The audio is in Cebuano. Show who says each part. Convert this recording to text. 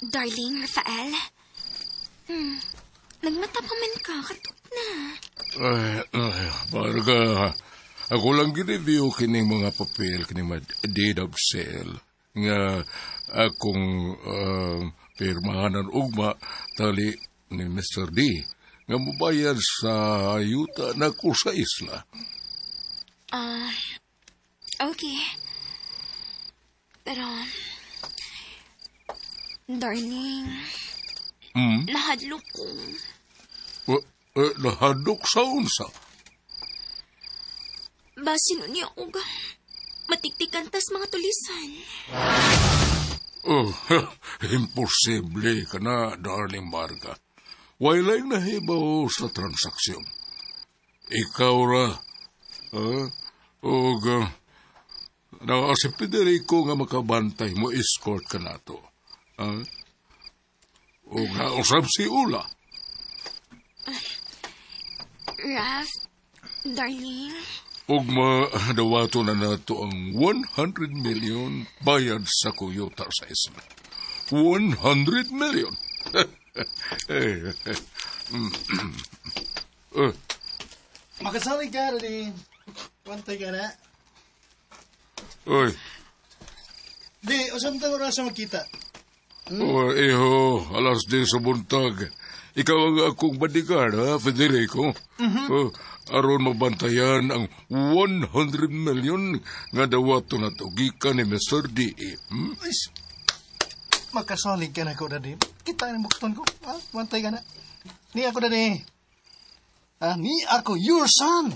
Speaker 1: Darling, Rafael. Nagmata pa man ka, katok na.
Speaker 2: Ay, ay, Marga, ako lang gi-review kining mga papel, kining mga deed of sale nga akong pirmahanan ugma tali ni Mr. D nga mobayad sa yuta nako sa isla.
Speaker 1: Ah, okay. Pero, darling, nahadlok ko.
Speaker 2: Nahadlok sa unsa?
Speaker 1: Basin niya og matiktikan tas mga tulisan.
Speaker 2: Oh, imposible ka na, darling Marga. Walay nahibaw sa transaksyon. Ikaw ra, og naa si Federico nga makabantay mo escort ka nato. Og nausab si Ula.
Speaker 1: Raf, darling,
Speaker 2: Og madawato na nato ang 100 million bayad sa kuyuta sa isla. 100 million! Eh, eh.
Speaker 3: Makasalig ka, Daddy. Pantay ka na.
Speaker 2: Oy.
Speaker 3: Di, usam tang oras magkita?
Speaker 2: Oh, iho, alas 10 sa buntag. Ikaw ang akong bodyguard, ha, Federico? Oh, aron mabantayan ang 100 million nga dawato na to gikan ni Mr. D.
Speaker 3: Is, makasalig ka na ko, Daddy. Kita ang bukton ko. Ah, bantay ka na. Ni ako, Daddy. Ah, ni ako, your son.